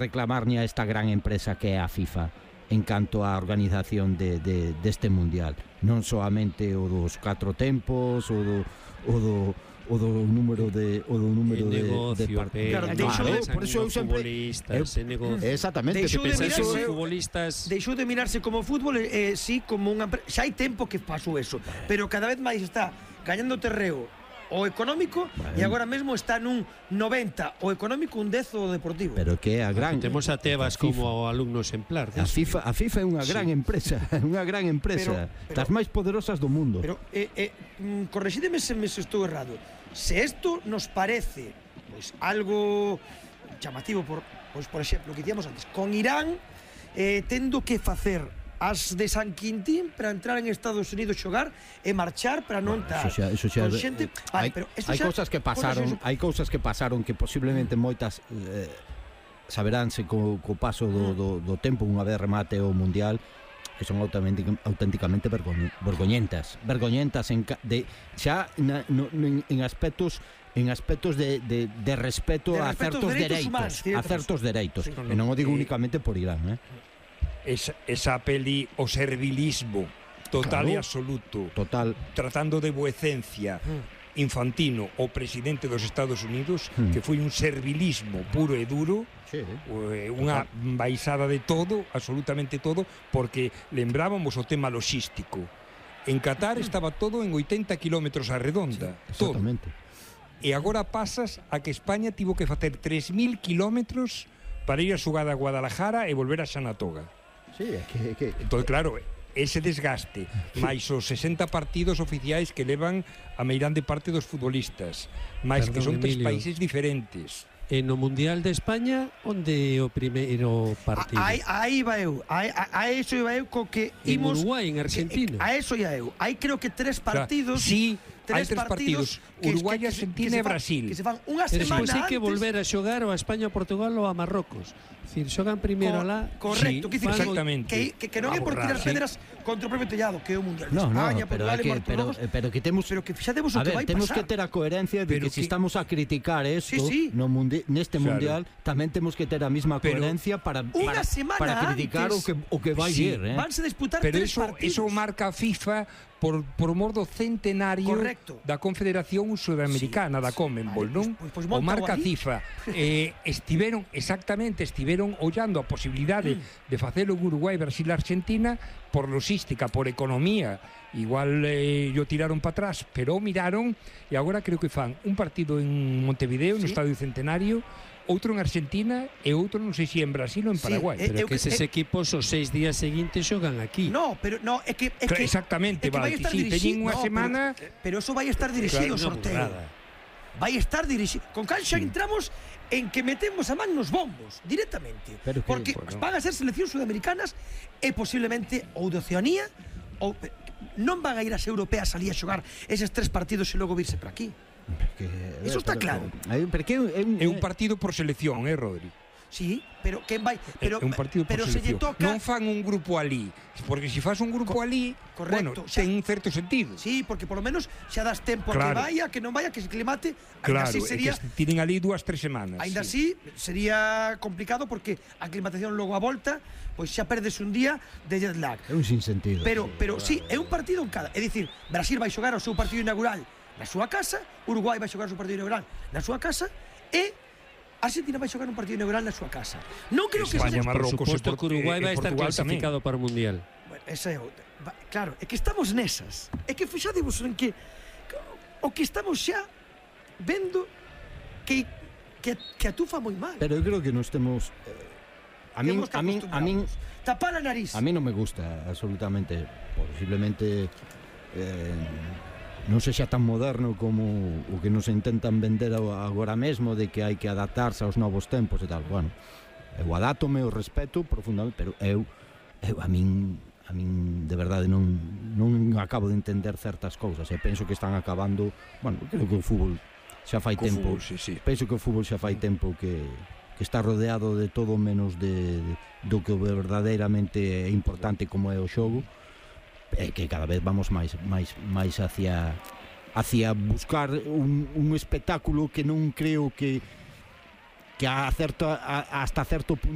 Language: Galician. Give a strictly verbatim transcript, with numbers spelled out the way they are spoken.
reclamarne a esta gran empresa que é a FIFA en canto á organización de, de, deste mundial, non soamente o dos catro tempos, o do, o do o do número de o do número de, de partidos. Claro, deixou, claro, por eso eu sempre futbolistas, eu, exactamente, deixou de mirarse eu, futbolistas, deixou de mirarse como fútbol, eh, sí, como unha xa hai tempo que pasou eso, pero cada vez máis está gañando terreo o económico, bueno, e agora mesmo está nun noventa o económico, un dez o deportivo. Pero que é a gran... Temos a Tebas como alumno exemplar. A FIFA, a FIFA é unha gran sí. empresa, unha gran empresa, pero, pero, das máis poderosas do mundo. Pero, eh, eh, correxídeme se me se estou errado. Se isto nos parece pois algo chamativo, por, pois, por exemplo, que dicíamos antes, con Irán eh, tendo que facer as de San Quintín para entrar en Estados Unidos xogar e marchar para non estar bueno, eso xa, eso xa, con xente, vale, hai, pero hai xa, cousas que pasaron, hai cousas que pasaron que posiblemente moitas eh, saberánse co, co paso do, do, do tempo unha vez remate o mundial, que son auténticamente vergoñentas, vergoñentas en de xa na, no, en, en aspectos en aspectos de, de, de respeto de a certos dereitos, humanos, a certos dereitos, sí, e non o digo eh, únicamente por Irán, eh. Esa, esa peli, o servilismo total claro, e absoluto, total, tratando de vuecencia mm. Infantino, o presidente dos Estados Unidos, mm. que foi un servilismo puro e duro, sí, eh, unha baixada de todo, absolutamente todo, porque lembrábamos o tema logístico. En Qatar estaba todo en oitenta kilómetros a redonda, sí, todo. E agora pasas a que España tivo que facer tres mil kilómetros para ir a xogar a Guadalajara e volver a Xanatoga. Sí, é que, é que... Entón, claro, ese desgaste, máis os sesenta partidos oficiais que levan a meirande parte dos futbolistas, máis que son tres países diferentes. E no Mundial de España, onde o primeiro partido? Aí, aí va eu, aí, a eso iba eu co que imos... En Uruguai, en Argentina. A eso ia eu, hai creo que tres partidos... Claro, sí, tres, hai tres partidos, partidos Uruguai, que, que, que Argentina e Brasil. Que se fan unha semana antes. Despois hai que volver a xogar ou a España, Portugal ou a Marrocos. Es decir, xogan primeiro lá. Correcto, sí, que, exactamente. Que, que, que non é por tirar sí. pedras contra o propio tellado, que é o Mundial de no, España, no, Portugal e Marruecos. Pero, pero que temos, pero que fixademos o a que ver, vai temos pasar. que ter a coherencia de pero que, que si estamos a criticar esto sí, sí. no mundi neste claro. Mundial, tamén temos que ter a mesma pero coherencia para para, para criticar antes, o que o que vai sí, ir, eh. Vanse disputar pero tres eso, partidos. eso marca a FIFA por, por mor do centenario Correcto. da Confederación Sudamericana, sí, da Conmebol, sí, non? Pues, pues, pues o marca a FIFA. Eh, estiveron, exactamente, estiveron ollando a posibilidade mm. de facelo en Uruguai, Brasil, Argentina, por logística, por economía. Igual eh, yo tiraron para atrás, pero miraron e agora creo que fan un partido en Montevideo, sí, no Estadio Centenario, outro en Argentina e outro non sei se en Brasil ou en Paraguai. Sí, pero eh, que eh, eses equipos os seis días seguintes xogan aquí. No, pero no, é que é claro, que exactamente, é que vai Valti, estar sí, dirixido, unha no, semana, pero, pero eso vai estar dirixido claro, o sorteo. Burrada. Vai estar dirixido. Con cal xa sí. entramos en que metemos a man nos bombos directamente, pero que, porque bueno. van a ser seleccións sudamericanas e posiblemente ou de Oceanía ou non van a ir as europeas ali a xogar eses tres partidos e logo virse para aquí. Que, eso está claro. Porque é un, é un partido por selección, eh, Rodri? Sí, pero quen vai, pero é un partido por pero selección. se lle toca Non fan un grupo ali, porque se si fas un grupo Co ali, correcto, bueno, xa, ten un certo sentido. Sí, porque por lo menos xa das tempo claro. a que vaya, que non vaya, que se climate. Claro, así sería, que tienen ali dúas, tres semanas. Ainda sí. así sería complicado porque a aclimatación logo a volta, pois xa perdes un día de jet lag. É un sinsentido. Pero pero sí, é un partido en cada. É dicir, Brasil vai xogar o seu partido inaugural na súa casa, Uruguai vai xogar o seu partido inaugural na súa casa e Argentina vai xogar un partido inaugural na súa casa. Non creo que España, sexa... Marrocos, por suposto que Uruguai vai estar clasificado tamén. para o Mundial. Bueno, esa é outra. Claro, é que estamos nesas. É que fixadevos en que o que estamos xa vendo que que que atufa moi mal. Pero eu creo que nos temos eh, a min a min a min tapar a nariz. A mí non me gusta absolutamente, posiblemente eh non sexa tan moderno como o que nos intentan vender agora mesmo de que hai que adaptarse aos novos tempos e tal. Bueno, eu adaptome, o respeto profundamente, pero eu, eu a min a min de verdade non non acabo de entender certas cousas e penso que están acabando, bueno, creo que o fútbol xa fai Co tempo, fútbol, sí, sí. penso que o fútbol xa fai tempo que que está rodeado de todo menos de, de do que verdadeiramente é importante como é o xogo. É que cada vez vamos máis máis máis hacia hacia buscar un, un espectáculo que non creo que que a certo, a, hasta certo punto